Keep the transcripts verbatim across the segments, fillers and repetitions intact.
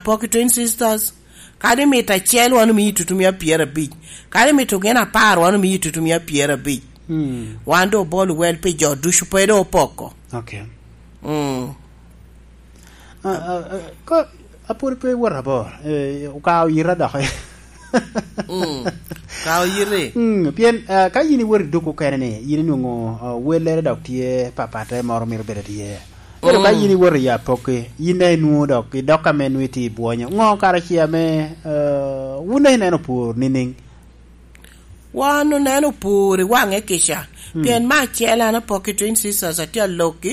Poki Twin Sisters, kadi mito acel, wan omii tutumia pyerabic. Kadi mito gin apar, wan omii tutumia pyerabic. Mm. Wan doŋ obolo wel pi jo ducu, pe doŋ opoko. Okay. Mm. Ah, ah, ah, ko, apwod pe wot abor. Eh, okawo yita dok. Mm. Kawo yite. Mm, pien, ah, ka yin iwot i duk okene ni, yin inwoŋo, ah, wellere dok tye papatte moro mito bedo tye. Ento ka, mm, yin iwot i apokki, yin daŋ inwoŋo dok, i dok ame nwoŋo itye i bwonyo. Ŋo kara ce ame, ah, wun daŋ ineno pur nining? Wan oneno pur i waŋe kica. Mm. Pien me acel an apokki Twin Sisters atye alokki,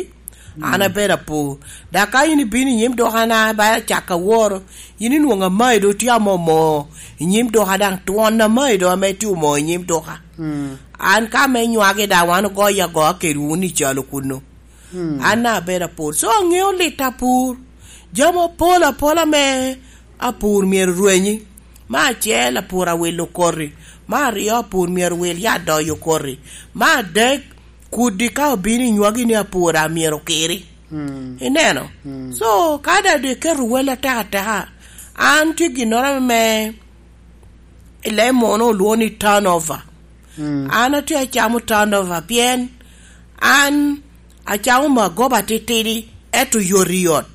an, mm, abedo apur. Dok ka yin ibino i nyim dukana, ba acako aworo, yin inwoŋo amayi doŋ tye amomo i nyim duka, daŋ twon amayi doŋ ame tye omo i nyim duka. Mm. An ka me nywagi daŋ wan ogoyo agoya kedwu ni calo kunnu. Mm. An daŋ abedo apur. So aŋeo lit apur. Jami apol apol ame apur myero rwenyi. Me acel, apur awilo koti. Me aryo, apur myero wil yat doyo koti. Me adek, kudi ka obino i nywagi ni apur a myero okiri. Mm. Ineno? Mm. So, ka daŋ doŋ iketo wel atek ateka, an tye ginnoro ame i leb muno olwoŋo ni turnover. Mm. An atye acamo turnover pien an acamo magoba titidi, ento yot i yot.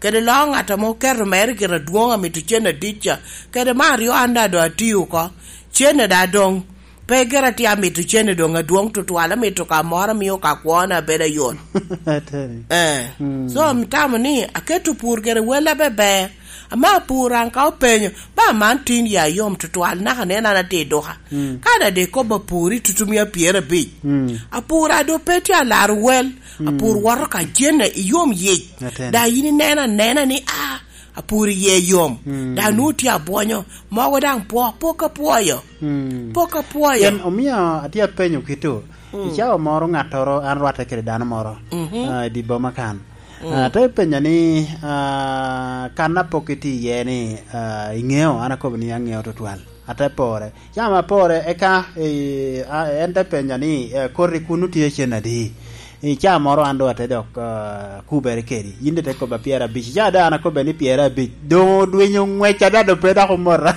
Kede loo ŋat ame oketo mere gire adwoŋ amito cen adit ca, kede me aryo an daŋ doŋ atio oko, cen daŋ adwoŋ. Pe gira tye amito cene doŋ adwoŋ tutwal, amito ka moro amio ka kwona bedo ayot. Ateni. Eh. Mm. So, amitamo ni aketo pur gire wella beber. Ama pur an ka openyo, ba man tin ya yom tutwal, naka nen an atye i duka. Mm. Ka da de kobba pur i tutumia pyerabic. Mm. Apur a do pe tye alaro wel, mm, apur woto ka cene i yom yic. Ateni. Da yin ineno anena ni, ah, apur iye yom. Mm. Da nwoŋo tye abwonyo, mogo daŋ pwo, pok apwoyo. Mm. Pok apwoyo. Pien omio atye apenyo kito. Mm. I cawa moro ŋattoro, an rwatte kede dano moro, mhm, ah, i dye boma kan. Mm. Ah, te penya ni, ah, kan a pok itye iye ni, ah, iŋeo? An akobo ni aŋeo tutwal. Ate pore. Cawa apore, eka, eh, ah, en te penya ni, eh, koti kunnu tye cen adi? I caa moro an doŋ ate dok, ah, kubere kedi. Yin doŋ ite kobba pyerabic. I caa doŋ an akobbe ni pyerabic. Doŋ odwinyo ŋwec ada, doŋ pe dok omota.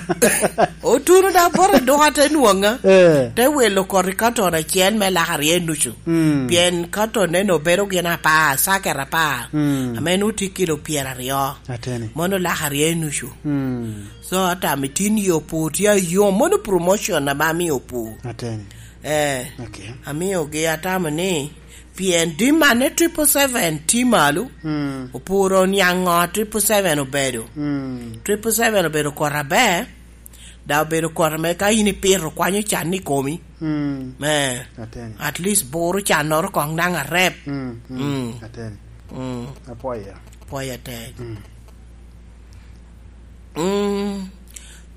Otuno da bot i duka te nwoŋa. Eh. Te wilo koti katon acel me lak aryo nucu. Mm. Pien katon neno obedo gin apar, saket apar. Mm. Ame nwoŋo tye kilo pyeraryo. Ateni. Mono lak aryo nucu. Mm. So, atamo itin i opur tye ayom. Mono promotion ame amio opur. Ateni. Eh. Okay. Amiogi atamo ni, pien demand ne triple seven tye malo. Mm. Opuro niaŋ ŋo triple seven obedo. Mm. Triple seven obedo kor aber. Da obedo kor ame ka in ipito kwanyo can i komi. Mm. Eh. Ateni. At least buro cannoro kong daŋ arep. Mm, mm. Mm. Ateni. Mm. Apwoyo. Apwoyo atek. Mm. Mm.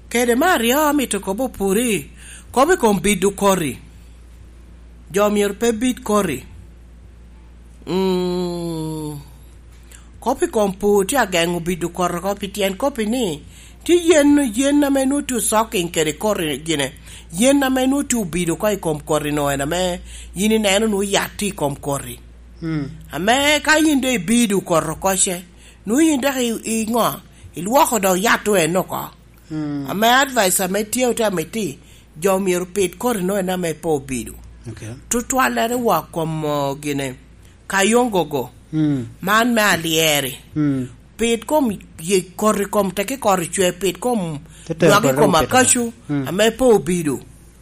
Kede me aryo amito kobo opuri, kobo i kom bido kori. Jo myero pe bid kori. Mm. Kop i kom pur tye ageŋo bido kori oko, pi tyen kop-pi ni, tye yen, yen ame nwoŋo tye osoking kede kori gine. Yen ame nwoŋo tye obido oko i kom kori-nu en ame yin ineno nwoŋo yat tye i kom kori. Mm. Ame ka yin doŋ ibido kori oko ce, nwoŋo yin dok i, i ŋo? Ilwoko dok yat-tu en oko. Mm. Ame advice ame tye ote amiti, jo myero pid koti-nu en ame pe obido. Okay. Tutwallere wa kom, uh, gine, kayongogo. Mm. Man me alyeri. Mm. Pid kom ye koti kom teki koti cwe, pid kom nywagi kom akacu, mm, ame pe obido.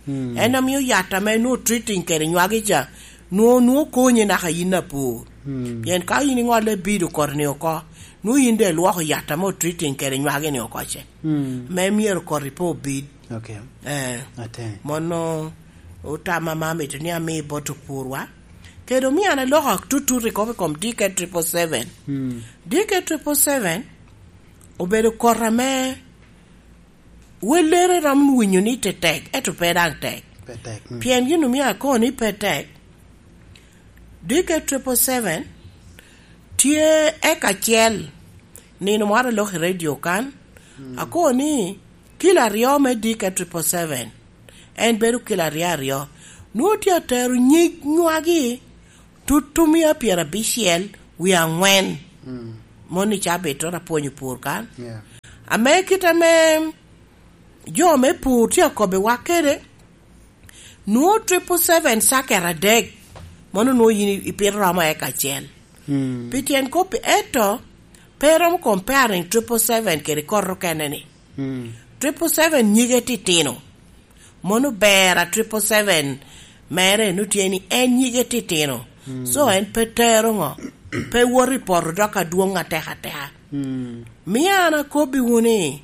Mm. En amio yat ame nwoŋo treating kede nywagi ca, nwoŋo, nwoŋo konyi naka yin apur. Mm. Pien ka yin iŋolle bido koti-ni oko, nwoŋo yin doŋ ilwoko yat ame otreating kede nywagi-ni oko ce. Mm. Me myero koti pe obid. Okay. Eh. Ateni. Mono otama ma amito ni ami bot opurwa. Kede omio an aloko atutut i kop i kom D K triple seven. Mm. D K triple seven obedo koti ame wellere rom winyo ni tetek, ento pe daŋ tek. Pe tek, mm. Pien gin omio akobo ni pe tek. D K triple seven tye eka acel. Nino moro aloko i redio kan, mm, akobo ni kilo aryo me D K triple seven, en bedo kilo aryo aryo. Nwoŋo tye atero nyig nywagi tutumia pyerabicel wie aŋwen. Mm. Moni cabit to apwonyo pur kan. Yeah. Ame kit ame jo me pur tye akobbiwa kede, nwoŋo triple seven cakere adek, mano nwoŋo yin ipito romo eka acel. Mm. Pi tyen kop-pi, ento pe romo comparing triple seven kede kot okene ni. Mm. Triple seven nyige titino. Mano ber a triple seven mere, nu tye ni en nyige titino. Mm. So en pe tero ŋo? Pe woto i poto dok adwoŋ atek ateka. Mm. Mio an akobbiwu ni,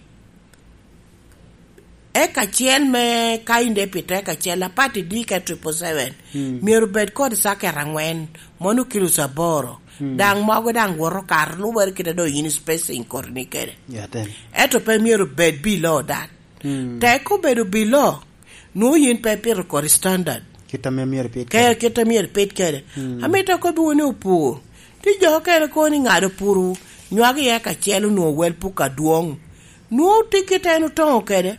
eka acel me ka in de pi teka acel, apati D K triple seven, mm, myero bed kod cakere angwen, mono kilo aboro. Mm. Daŋ mogo daŋ woto kato lubere kite doŋ yin spacing kodi ni kede. Ya, then. Ento pe myero bed below that. Mm. Tek obedo below, nwoŋo yin pe ipito kodi standard. Kit ame myero ipit kede. Kit ame myero ipit kede. Mm. Amito akobbiwu ni opur. Tye jo okene kono ni ŋado puru, nywagi i eka acel onwoŋo wel puk adwoŋ. Nwoŋo tye kit en otoŋo kede.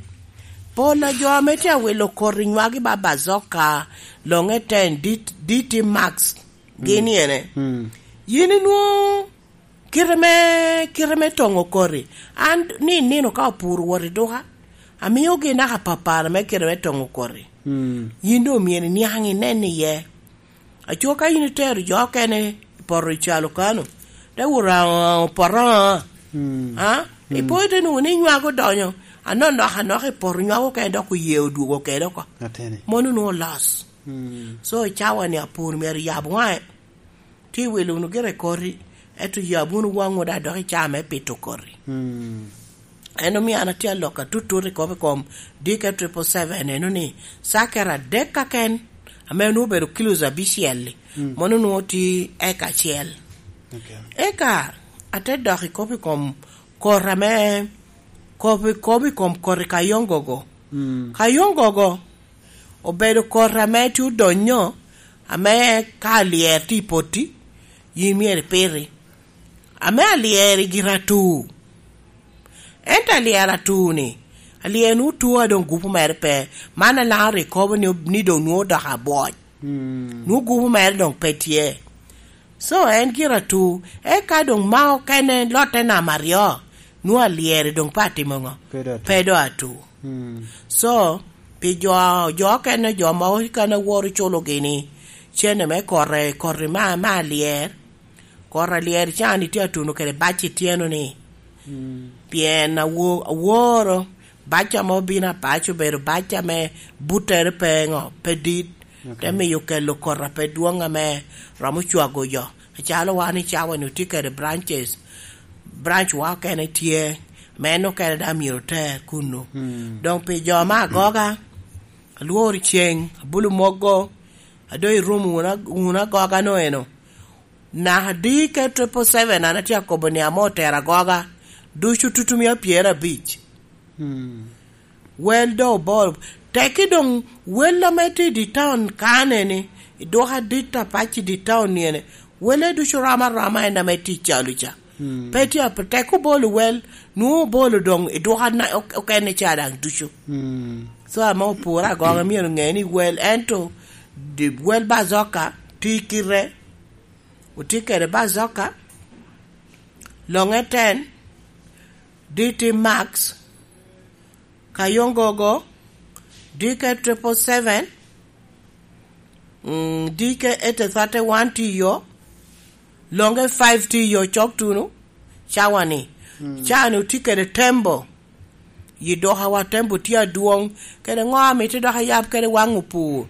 Pol a jo ame tye awilo koti nywagi ba bazoka, loŋe ten, D T, D T Max, gin ene. Mm. Yin inwoŋo kite me, kite me toŋo koti. An ni nino ka opur wot i duka, amiogi naka papara me kite me toŋo koti. Mm. Yin doŋ myero iniaŋ inen iye. Aco ka in itero jo okene i poto i calo kano, te wot raŋo poto, mm, a? Mm. Ipo ite nwoŋo ni nywak odonyo, anonok anok i poto nywak okene dok oye odwogo kede oko. Atene. Mono nwoŋo loss. Mm. So, i cawa-ni apur myero yab waŋe. Tye iwilo wunu gire koti, ento yab wunu waŋwu daŋ dok i caa me pito koti. Mm. En omio an atye alok atutut i kop i kom D K triple seven eno ni, cakere adek kaken, ame onwoŋo obedo kilos abicel-li, mm, mono onwoŋo tye eka acel. Okay. Eka ate dok i kop i kom koti ame, kop i, kop i kom koti kayongogo. Mm. Kayongogo obedo koti ame tye odonyo, ame ka alyero tye i potti, yin myero ipiti. Ame alyero i gira atu. Ento alyero atu-ni, alyero nwoŋo atu a doŋ gupu mere pe. Man a Laŋo rik kobo ni, ni doŋ nwoŋo odoko abwoc. Mm. Nwoŋo gupu mere doŋ pe tye. So, en gira atu, eka doŋ ma okene lotte namba aryo, nwoŋo alyero doŋ pe atimo ŋo? Pe doŋ atu. Pe doŋ atu. Mm. So, pi jo, jo okene, jo mogo kene woro culo gini, cene me koti, koti ma, ma alyer, koti alyer can itye atuno kede bac i tyeno ni. Mm. Pien awo-, aworo bac ame obino apac obedo bac ame buttere pe ŋo, pe dit, ok, te miyo kelo koti pe dwoŋ ame romo cwago jo. Acalo wan i cawa-ni otye kede branches, branch wa okene tye, ma en okene daŋ myero oter kunnu. Mm. Doŋ pi jo me agoga, alworo ceng, abulo mogo, a doŋ irumo wunu ag-, wunu agoga-nu eno. Naka D K triple seven an atye akobo ni ame otero agoga, ducu tutumia pyerabic. Mm. Wel doŋ oboro. Tekki doŋ wel ame tye i di taun kane ni, i dwoko adit apac i di taun ni ene, wele ducu rom aroma en ame tye i calo ca. Mm. Pe tye ap-, tek obolo wel, nwoŋo obolo doŋ i dwoko na-, ok-, okene ca daŋ ducu. Mm. So, ame opore agoga myero ŋe ni wel, ento di-, wel bazoka tye kite, otye kede bazoka, loŋe ten, D T Max, Kayongogo, D K triple seven, mm, D K eight thirty one tye yo, Longe five tye yo cok tuno, cawa-ni. Mm. Cawa-ni otye kede tembo. Yi dukawa tembo tye adwoŋ, kede ŋo amito dok ayab kede waŋ opur.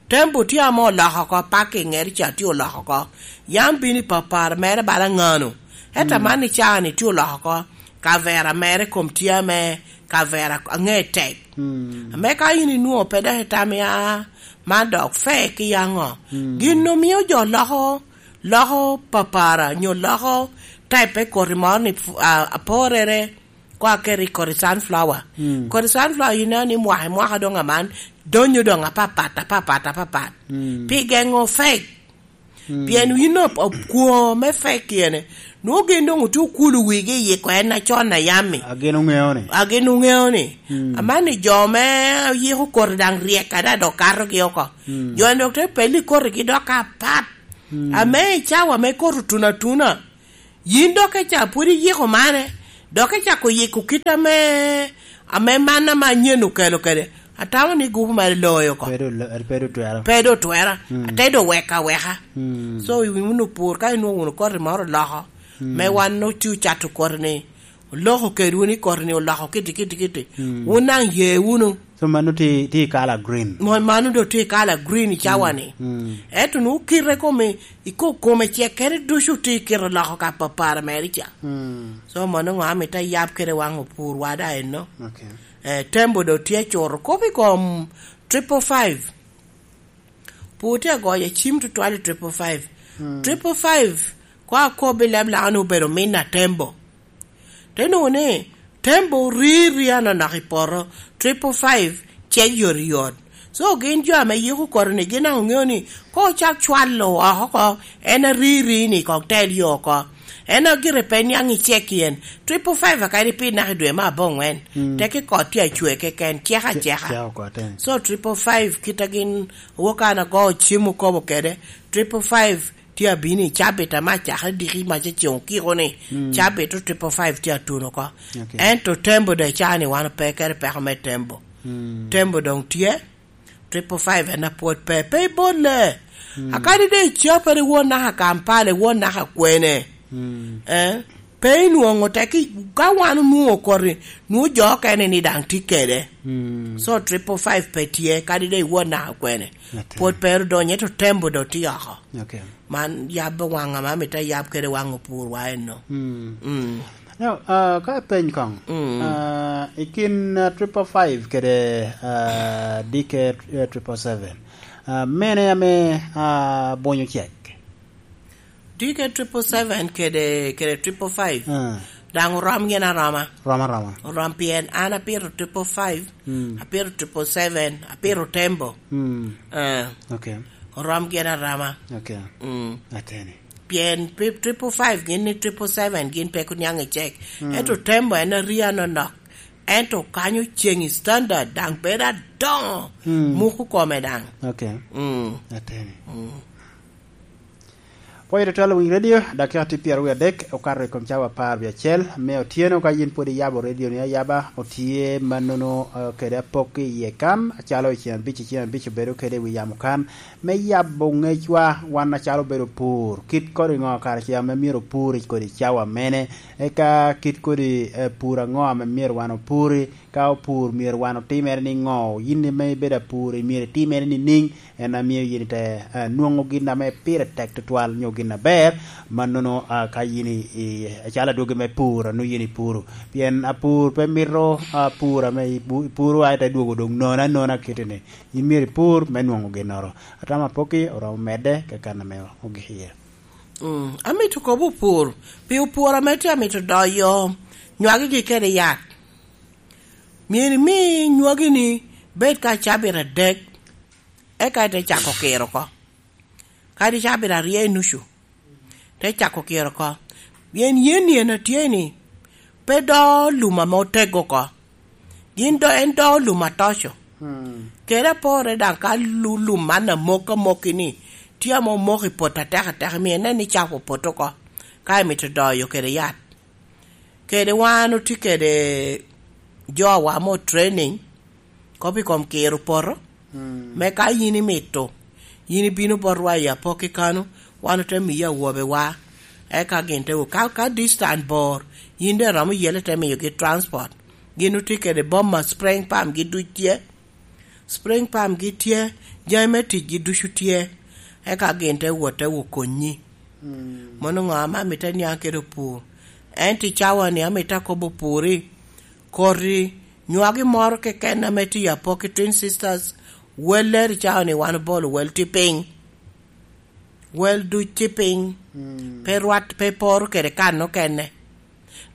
Tembo tye ame oloko oko, parking ŋeri ca tye oloko oko. Yam bino i papara mere bala ŋano. Ento mm, aman i cawa-ni tye oloko oko, kavera mere kom tye ame kavera aŋe tek. Mm. Ame ka in inwoŋo pe dok itamo ya, man dok fek i aŋo? Mm. Gin omio jo loko, loko papara, nyo loko type koti moro ni fu-, a, aporere, ko aketo i koti sunflower. Mm. Koti sunflower ineno ni mwaka i mwaka doŋ aman, donyo doŋ apapat, apapat, apapat. Mm. Pi geŋo fek. Mm. Pien yin op-, op-, kwo me fek ene, nwoŋo gin doŋ otye okulu wigi i yiko en acon a yam-mi. A gin oŋeo ni. A gin oŋeo ni. Mm. Aman ni jo me yiko koti daŋ ryek ada dok katogi oko. Mm. Jo-ni dok te pelle i kotigi dok apat. Mm. Ame i cawa me koti otuno atuna, yin dok ka ca pwod iyiko mane, Dok ecako yiko kit ame, ame man ame anyen okelo kede. Atamo ni gupu mere loyo oko. Pe doŋ lo-, pe doŋ twero. Pe doŋ twera. Mm. Ate doŋ weka weka. Mm. So, wun opur, ka inwoŋo wunu koti moro oloko, mm, me wan otye ocato koti ni, oloko kedwu ni koti ni oloko kiti, kiti, kiti. Mm. Wun daŋ ye wunu. So, mano tye, tye i kala green. Mo-, mano doŋ tye i kala green i cawa ni. Mm. Ento nwoŋo kite kome, i ko-, kome cek kede ducu tye i kite oloko ka papara mere ca. Mm. So, mano ŋo amito ayab kede waŋ opurwa da eno. Okay. Eh, Tembo doŋ tye acuro kop i kom triple five. Pur tye agoyo acim tutwal i triple five. Mm. Triple five, kwa akobo i leb Lango ni obedo min a Tembo. Te nwoŋo ni, Tembo riri anonok i poto, triple five cek yot yot. So, gin jo ame yiko koti ni, gin daŋ oŋeo ni, ka ocak cwalo oko oko, en ariri ni kong tel yo oko. En agire pe niaŋ i cek yen, triple five akadi piny naka i dwe me aboŋwen. Mm. Teke kot tye acwe keken, cek aceka. Cek oko aten. So, triple five, kit a gin wok an ago cim okobo kede, triple five, tye abino i cabit ame acakere diki mac aceŋ okiko ni, mm, cabit o triple five tye atuno oko. Okay. Ento Tembo doŋ icaa ni wan ope kede peko me Tembo. Mm. Tembo doŋ tye, triple five en apwod pe, pe ibolle. Mm. Akadi doŋ icapere iwot naka Kampala, iwot naka kwene. Mm. Eh? Pe inwoŋo teki, ka wan onwoŋo koti, nwoŋo jo okene ni daŋ tye kede. Mm. So, triple five pe tye, kadi doŋ iwot naka kwene. Atir. Pwod pe ru donyo, ento Tembo doŋ tye oko. Okay. Man yabbe waŋ ame amito ayab kede waŋ opurwa eno. Mm. Mm. Now, ah, ka apeny koŋ, mm, ah, i kin, ah, triple five kede, ah, D K, eh, triple seven, ah, mene ame, ah, bonyo cek? D K triple seven kede, kede triple five. Ah. Daŋ orom gin aroma. Rom aroma. Orom pien an apito triple five, mm, apito triple seven, apito Tembo. Mm. Ah. Okay. Orom gin aroma. Okay. Mm. Ateni. Pien tri-, triple five gin ni triple seven gin pe kun niaŋ i cek. Mm. Ento Tembo en aria nonok. Ento kanyo ceŋ i standard daŋ bedo adoŋo. Mm. Muku kome daŋ. Okay. Mm. Ateni. Mm. Pwoyo tutwal owiny redio, dakika tye pyeraryo adek okato i kom cawa apar wie acel me otyeno. Ka yin pwod iyabo redio ni ayaba, otye mannono, eh, kede apok iye kan, acalo i cen abic, i cen abic obedo kede i wi yamo kan, me yabo ŋecwa wan acalo obedo pur, kit kodi ŋo kara ce ame myero opur i kodi cawa mene, eka kit kodi, eh, pur aŋo ame myero wan opuri, ka opur myero wan otimere ni ŋo, yin ame ibedo apur, myero itimere ni niŋ, en a mio yin ite, eh, nwoŋo gin ame pire tek tutwal nyo gin aber, mannono, ah, ka yin i, i, acalo adwogi me pur, a nwoŋo yin ipuro. Pien apur pe mito, ah, pur ame ipu-, ipuro a ite dwogo doŋ nono anona kite-ni. Yin myero ipur me nwoŋo ginnoro. Atamo apokki oromo medde keken ame ogik iye. Mm, amito kobo opur, pi opur ame tye amito doyo nywagigi kede yat. Myero imi nywagini bed ka cabit adek, eka ite cako kiro oko. Kadi cabit aryo i nucu, te cako kiro oko. Pien yen ni en atye ni, pe do lum ame otego oko. Gin do, en do lum atoco. Hmm. Kede apore daŋ ka lu-, lum man amok amokki ni, tye ame omoko i poto atek atek, myero inen ni cako poto oko, ka imito doyo kede yat. Kede wan otye kede jowa mo training, kop i kom kiro poto, mm, me ka yin imito, yin ibino botwa i apokki kano, wan ote miyi awobewa, eka gin te wo. Ka, ka distance bor, yin de romo yele te miyogi transport. Gin otye kede boma, spring pump gi duc tye, spring pump gi tye, jami me ticgi ducu tye, eka gin te wot te wo konyi. Mm. Mono ŋo ame amito aniaŋ kede opur? Ento i cawa-ni amito akobo opur-ri, koti nywagi moro keken ame tye i Apoki Twin Sisters, wel leri cawa-ni wan obolo wel tye piny. Wel duc tye piny. Mm. Pe rwat, pe poro kede kan okene.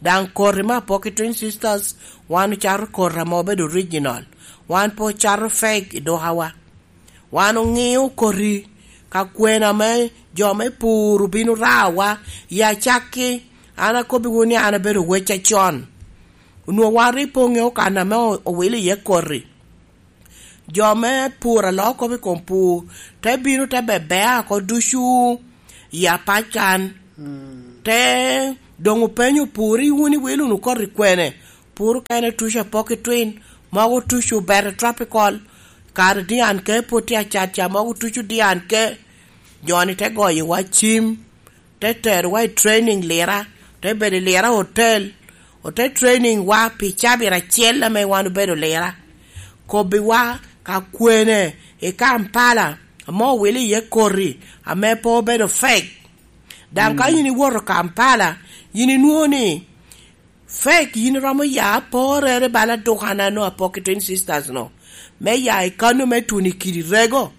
Daŋ koti me Apoki Twin Sisters, wan ocato koti ame obedo original. Wan pe ocato fake i dukawa. Wan oŋio koti ka kwena me jo me pur obino rawa i acakki. An akobbiwu ni an abedo wec acon. Onwoŋo wan rik pe oŋeo kan ame o-, owilo iye koti. Jo me pur a loko kop i kom pur, te bino te bebea oko ducu i apac kan. Mm. Te Doŋ openyo opur i wun iwilo wunu koti kwene? Opur okene tuco apok i twin, mogo tuco obete tropical, kare dian ke pwod tye acat ca, mogo tuco dian ke. Jo-ni te goyowa cim, te terowa i training Lira, te bedo i Lira hotel, ote training wa pi cabit acel ame wan obedo Lira. Kobbiwa ka kwene i Kampala, ame owilo iye koti ame pe obedo fake. Daŋ ka yin iwoto Kampala, yin inwoŋo ni fake, yin iromo ya aporere bala dukana no apok i Twin Sisters no, me ya i kano me tuno i kidi rego.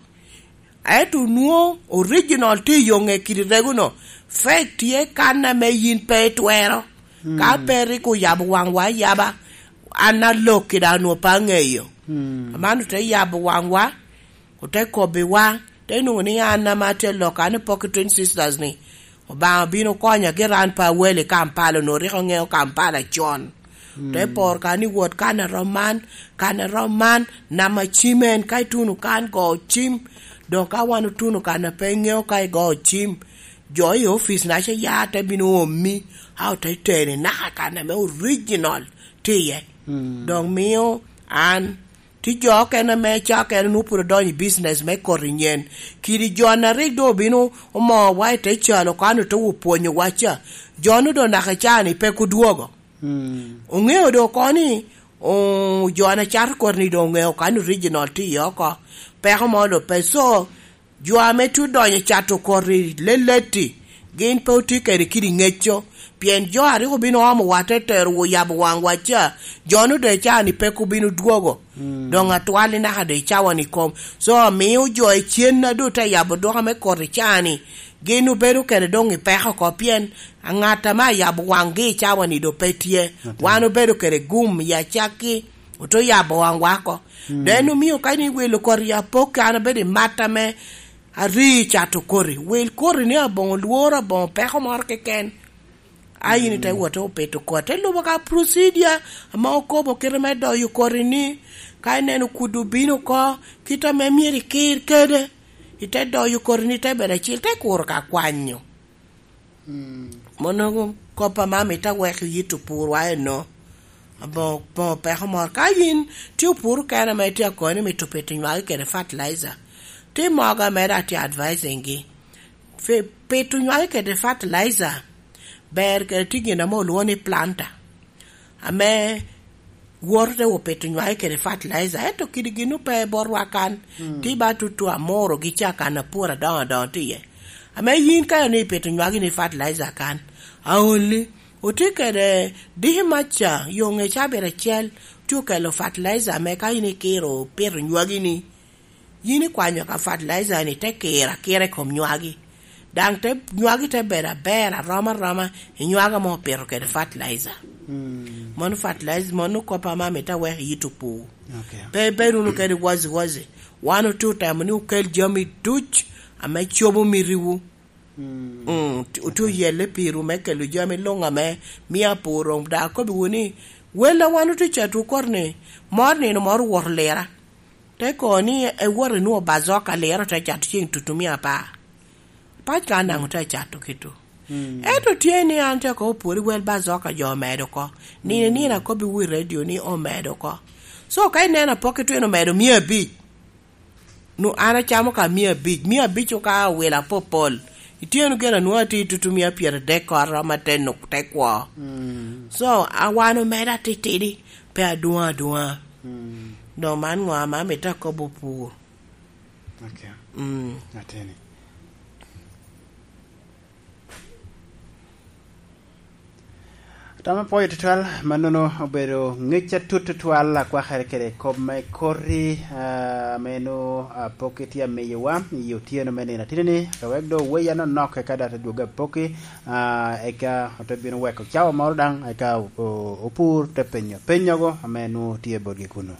Ento nwoŋo original tye i yo ŋe kidi rego no, fake tye kan ame yin pe itwero. Ka pe rik oyabo waŋwa ayaba, an alok kede anwo pe aŋeyo. Aman ote yabo waŋwa, ote kobbiwa, te nwoŋo ni an ame atye lok, an i pok i Twin Sisters ni, Obaŋa obino konya, gira an pe awelo i Kampala, onwoŋo rik aŋeo Kampala con. Te poro kan i wot kan arom man, kan arom man, nama cim en, ka ituno kan, go cim. Doŋ ka wan otuno kan a pe iŋeo ka igo cim, jo i ofice naca ya te bino omi, a ote teni naka kan ame original tye iye. Doŋ mio an Tye jo okene ame ca okene onwoŋo pwod odonyo i business me koti nyen. Kidi jo-na rik doŋ obino omowa i te calo kan ote wo pwonyowa ca, jo-nu doŋ naka i caa-ni pek odwogo. Oŋeo doŋ oko ni, o, jo-na cato koti-ni doŋ oŋeo kan original tye iye oko. Peko mo doŋ pe. So, jo ame tye odonyo i cato koti leleti, gin pe otye kede kidi ŋecco, pien jo a rik obino omo wa te tero wo yabo waŋwa ca, jo-nu doŋ i caa-ni pek obino dwogo. Doŋ atwal i naka doŋ i cawa-ni kom. So, amio jo i cen-na doŋ te yabo duka me koti caa-ni, gin obedo kede doŋ i peko oko, pien aŋat ame ayabo waŋgi i cawa-ni doŋ pe tye. Wan obedo kede gum i acakki, ote yabo waŋwa oko. Doŋ en omio ka ni welo koti apok, an abedo i mat ame ari cato koti. Wel koti ni aboŋo lworo, aboŋo peko moro keken. A in ite wot te opito koti, te lubo ka procedure ame okobo kite me doyo koti ni, ka ineno kudo obino oko, kite ame myero ikir kede, ite doyo koti ni te bedo acil, te kuro ka kwanyo. Mono kop ame amito awek iyit opurwa eno. Aboŋo, aboŋo peko moro. Ka yin tye opur okene ame itye akoni mito pito nywagi kede fertilizer, tye mogo ame daŋ atye advising gi. Fi-, pito nywagi kede fertilizer ber kede tye gin ame olwoŋo ni planter. Ame woto te wo pito nywagi kede fertilizer, ento kidi gin ope botwa kan, tye ba tutu amuro gi ca kan apur adoŋo adoŋo tye iye. Ame yin ka ni ipito nywagi ni fertilizer kan, aolli, otye kede diki mac ca, yo ŋe cabit acel, tye okelo fertilizer ame ka in ikiro pito nywagi ni, yin ikwanyo ka fertilizer ni te kiro akira i kom nywagi. Daŋ te, nywagi te bedo aber arom aroma i nywagi ame opito kede fertilizer. Mano fertilizer, mano kop ame amito awek iyit opur. Ok. Pe ibed wunu kede wazi wazi. Wan otye otemo ni okel jami duc ame cobo mitiwu. Mm, ti-, otye oyelle pirwu me kelo jami luŋ ame mio apur romo. Daŋ akobbiwu ni, wel a wan otye cato okot ni, mor nino moro owoto Lira. Te kono ni ewot inwoŋo bazoka Lira te cato ceŋ tutumia apar. Pac ka an daŋ ote cato kito. Ento tye ni an te kobo pwod i wel bazoka jo omedo oko. Nino i nino akobbiwu i redio ni omedo oko. So ka ineno apok itwino medo mia abic, nu an acamo ka mia abic, mia abic ka owil apopol. Ityeno gire anwoŋo atye i tutumia pyeradek koro ma te nuk, te kwo. So, a wan omeda titidi, pe adwoŋ adwoŋa. Doŋ man ŋo ame amito akobo pur? Ok. Mm. Ateni. Tam apwoyo tutwal, mannono obedo ŋec atut tutwal akwakere kede kop me koti, ah, ame nwo, ah, pok itye amiyowa i otyeno me nino atini-ni, ka wek doŋ oweya nonok eka doŋ ate dwogo apoki, ah, eka ote bino weko cawa moro daŋ, eka o-, o-, opur te penyo penyogo ame nwo tye botgi kunu.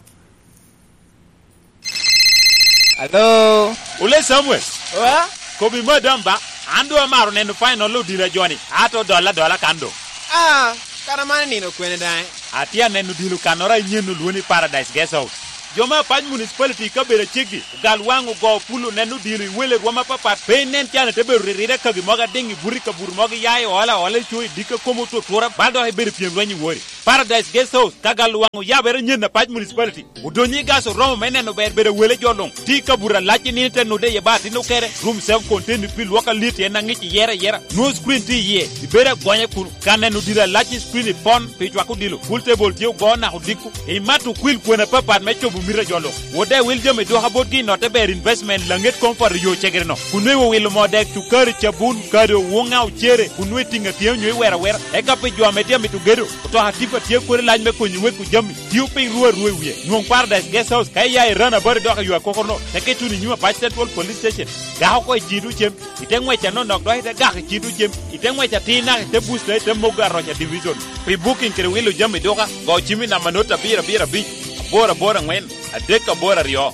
Alo? Ole Samuel. Oa? Kobi madam ba, an doŋ amaro neno final odilo a joni, ato dolla adola kan doŋ. Ah, kara man nino kwene daŋ? Atye aneno odilo kannoro a inyen olwoŋo ni Paradise Guest House. Jo me Apac Municipality i kabedo aceggi, ogal waŋ ogo pul oneno odilo i wele rwom apapat, pe inen can ite bedo ririre kagi mogo adiŋ i buto i kabuto mogo iya i ola ola i co i dikka kom otutura, bal dok ibedo pyem lweny i wori. Paradise Guest House, ka gal waŋ oyabere nyen Apac Municipality. Odonyo i gas oromo me neno ber bedo wele jo luŋ. Tye i kabuto alac i nino ite nude iye ba atin okere, room self contained pi lwok alit en aŋic iyere ayera. Nwoŋo screen tye iye, ibedo agonya kun ka neno odilo alac i screen ipon pi cwako odilo. Pool table tye ogo naka odiko. Imato okwil kwena apapat me cobo mito a jo luŋ. Wode wil jami dwoka botgi i notte ber investment laŋet comfort yo cegere no. Kun nwe wilo moo dek cukari cabun kado wuŋa ocere kun nwe tiŋa tye onyo iwera awera. Eka pi jo ame tye amito gedo, otoka tipa tye kodi lac me konyo weko jami. Tio piny rua rua i wie. Nwoŋ Paradise Guest House ka iya i rana bari dok i yo akokoro no. Teke tuno i nyim Apac Central Police Station. Gako oko i cito cem. Ite ŋwec anonok dok ite gak i cito cem. Ite ŋwec atir naka ite busta ite mogo aroca division. Pi booking kede wilo jami duka, go cim i namba not abiro abiro abic, aboro aboro angwen, adek aboro aryo.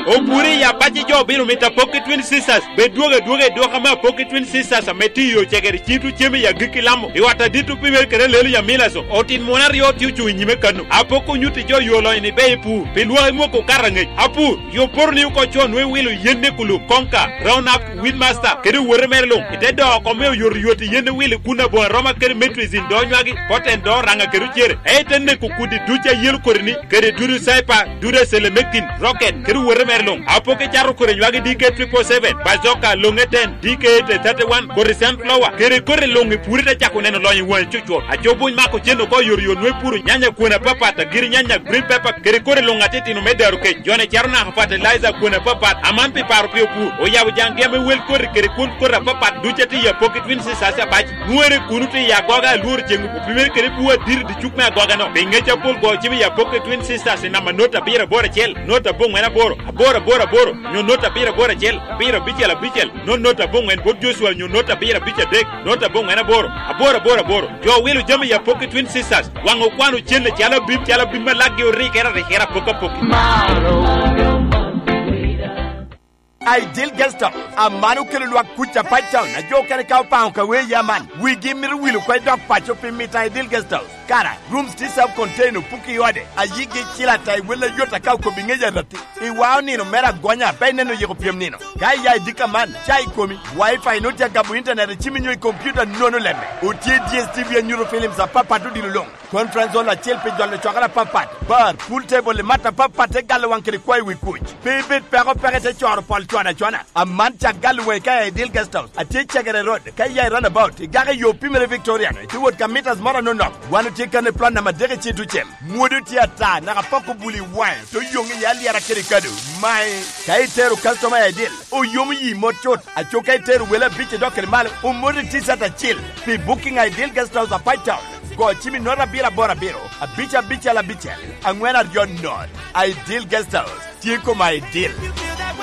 Opuri i Apac jo obino mito Apoki Twin Sisters. Bed dwogo adwoga i duka me Apoki Twin Sisters ame tye i yo cegere cito cem i agikki Lamo. I ot adit opimere kede lelo i Amilaso. Otin muno aryo tye ocuŋ i nyime kano. Apoki onyutti jo yo lonyo ni be i pur. Pi lwak imwoko okato angec. Apur, yo poto ni oko con nwe wilo yen ne kulub, konka, round up, Weedmaster, kede owote mere luŋ, ite doko oko me oyotoyot i yen wili kun aboŋo aroma kede metrizin do nywagi, poten do oraŋa kede ocere, ento en neko kudi duc a yelo kodi-ni, kede dudu caipa, dudu acelemekin, rocket, kede owote mere luŋ. Apoki cato kodi nywagi D K triple seven, bazoka, loŋe ten, D K eight thirty-one, kodi sunflower, kede kodi luŋ i puri te cako neno lonyo i waŋe cucwot. Aco buny mako cen oko oyotoyot nwe puro nyanya kwena papat, agiri nyanya, green pepper, kede kodi luŋ atitino me daro kec. Jone caro naka fertilizer kwena papat, aman pi paro pi opur. Oyabo jaŋgi ame wel koti kede kwon koti apapat duc atye i Apoki Twin Sisters Apac. Nwere kuno tye i agoga alworo ceŋ opimere kede bwo adiri dicuk me agoga no. Pi ŋec apol go cim i Apoki Twin Sisters i namba not abiro aboro acel, not aboŋwen aboro, aboro aboro aboro, nyo not abiro aboro acel, abiro abicel abicel, not not aboŋwen bot Joshua nyo not abiro abic adek, not aboŋwen aboro, aboro aboro aboro. Jo wilo jami i Apoki Twin Sisters, waŋ okwano cen calo abim, calo abim ma lakgi orikere arikere apoki apoki. Ideal Guest House, aman okelo lwak kuc Apac Town, a jo okene ka opaŋo ka wee ya man, wigi mito wilo oko i dok paco pi mito Ideal Guest House. Kara, rooms tye self contained, opuki i ode, a yigi cil ata i wel ayot aka okobi ŋec arati. Iwao nino mere agonya, pe ineno yiko pyem nino. Ka iya i dika man, ca i komi, Wi-Fi nut ya gabo internet i cimi nyo i computer nono lemme. Otye D S T V anyuto films apapat odilo luŋ. Conference hall acel pi jolo cokere apapat, bar, pool table i mat apapat te galo waŋ kede kwayo wi kuc. Pe ibed peko peke te coro pol cwana cwana. Aman cak galo waŋi ka i Ideal Guest House. Atye i Cegere Road, ka iya i roundabout, igako i yo pimere Victoria, ite wot ka meters moro anonok. Wan otye kan i plot namba adek i Cito Cem. Mwodo tye ata, naka poko buli i waŋe, to yoŋ iye alyera kede kado. Mae, ka itero customer i Ideal, oyomo yi mot cut. Aco ka itero wele abic idok kede malo, omot i T-shirt acil. Pi booking Ideal Guest House Apac Town, go cim i not abiro aboro abiro, abic abicel abicel, angwen aryo not. Ideal Guest House, tye kom Ideal.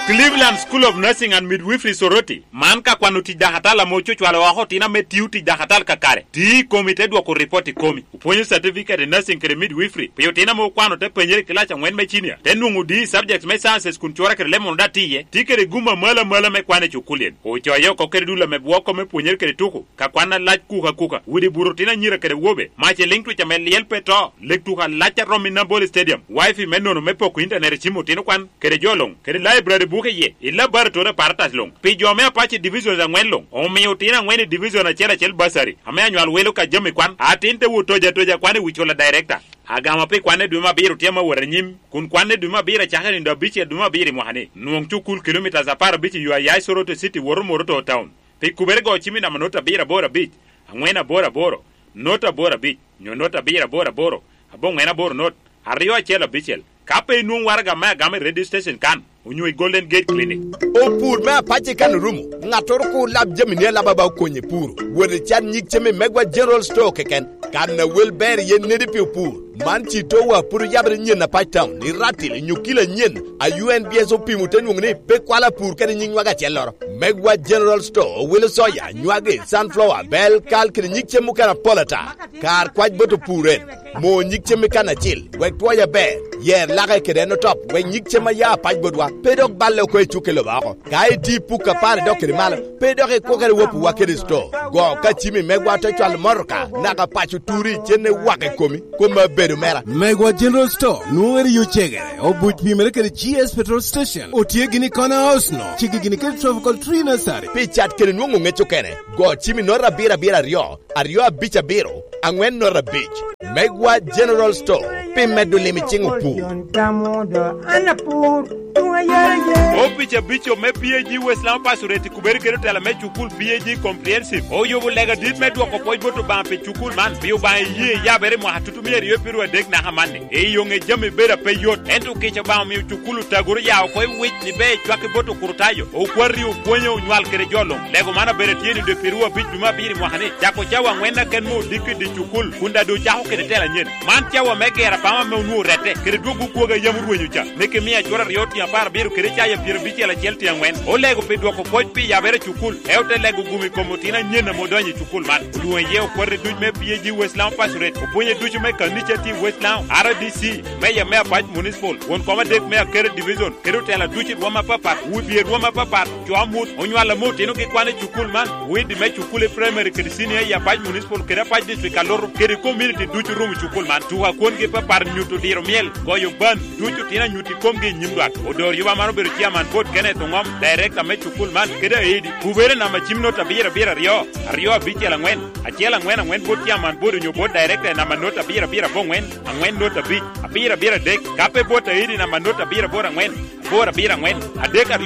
Cleveland School of Nursing and Midwifery Soroti, man ka kwano tic dakatal ame ococwalo oko otino ame tio tic dakatal kakare. Ti i komi te dwoko ripot i komi. Opwonyo certificate i nursing kede midwifery. Pi otino ame okwano te penyere i kilac angwen me cinia, te nwoŋo D i subjects me sciences kun cura kede leb mono daŋ tye iye. Tye kede gum amalo amalo me kwan i cukulien. Ocoye oko kede dul ame bwoko me pwonyere kede tuko, ka kwan alac kuka kuka, udi buto otino anyira kede awobe, mac i liŋ twic ame lyel pe to, leg tuko alac a romo i Nambole Stadium, wifi me nono me poko intanet i cim otino kwan, kede jo luŋ, kede laibrari buke iye, i laboratory apparatus luŋ. Pi jo me Apache Divisions angwen luŋ, omio otino angwen i division acel acel bursary, ame anywal welo ka jami kwan, atin te wot toja toja kwan i wi cula director. Agama pi kwan i dwe me abiro tye ame wot anyim, kun kwan i dwe me abiro acakere i nino abicel dwe me abiro i mwaka-ni. Nwoŋ cukul kilomitas apar abic i yo a ya i Soroti City woto Moroto Town. Pi kubere go cim i namba not abiro aboro abic, angwen aboro aboro, not aboro abic, nyo not abiro aboro aboro, aboŋwen aboro not, aryo acel abicel. Ka pe inwoŋo waraga me agama i radio station kan, onyo i Golden Gate Clinic. Opur me apace kan orumo, ŋattoro kur lab jamini alaba ba okonye puro. Wot icat nyig cem i Megwa General Store keken. Kan a wel ber iye nedi pi opur. Man citowa pwod oyabere nyen Apac Town, i Ratil, nyo kilo anyen, a U N B S opimo te nwoŋo ni pe kwalo apur kede nyig nywage acelloro. Megwa General Store owilo soya, nywage, sunflower, bel, kal kede nyig cem mukene apol ata. Kar kwac bot opur en, mo nyig cem i kan acil, wek twoya ber. Yer lake kede en otop, wek nyig cem a ya apac botwa pe dok balle oko i cukke lobo oko. Ka itye i puk apar idok kede malo, pe dok ikwokere wopiwa kede sto. Go ka cimi megwa te cwalo motoka, naka paco turi icenne wak i komi, kom abedo mera. Megwa General Store nwoŋere i Ocegere, obuc pimere kede G S Petrol Station, otye gini i Corner House no, cigi gini kede Tropical Tree Nursery. Pi cat kede nwoŋo ŋec okene, go cimi nota abiro abiro aryo, aryo abic abiro, aŋwen nota abic. Megwa General Store, pi medo lim i ciŋ opur. Opic abico me P A G West Lamu Pastorate i kubere kede otela me cukul P A G Comprehensive oyubo lega dit me dwoko pwoc bot Obaŋa pi cukul man, pi Obaŋa iyee yabere i mwaka tutumia aryo pirwa adek naka manni. I yo ŋe jami bedo ape yot, ento kica Obaŋa omio cukul otagoro ya oko i wic ni ber cwak i bot okurutayo, okwati, opwonyo, onywal kede jo luŋ. Lego man abedo atye ni dwe pirwa abic dwe me abiro i mwaka ni, cako cawa aŋwen aken me odiko i dye cukul, kun daŋ doŋ ocako kede tela anyen. Man cawa me gero abama ame onwoŋo orette, kede dwogo kwogo a yam orwenyo ca, me kemiya acwot aryo tyen apar abiro kede caya pyerabicel acel tyen aŋwen. Olego pi dwoko pwoc pi yabere cukul, e ote lego gum i kom otino anyen ame odonyo i cukul man. Olwoŋo iye okwati duc me P A G West Lamu Pastorate, opwonye ducu me kanica tye i West Lamu, R D C, meya me Apac Municipal, won kom adek me Akere Division, kede otela ducu i rwom apapat, wudie rwom apapat, co amut, onywal ame otinogi kwano i cukul man, widi me cukul i primary kede senior i Apac Municipal kede Apac District Kaloto, kede community ducu rumo cukul man. Tuko a kwongi apapat nyuto diro myel, goyo ban, ducu tino anyut i komgi i nyim lwak. Odor yuba man obedo chairman board Kenneth Oŋom, director me cukul man, kede aidi. Kubere namba cim nota abiro abiro aryo, aryo abicel aŋwen, acel aŋwen aŋwen board chairman board onyo board director i namba nota abiro abiro aboŋwen, aŋwen nota abic, abiro abiro adek, ka pe board aidi namba nota abiro aboro aŋwen, aboro abiro aŋwen, adek aryo.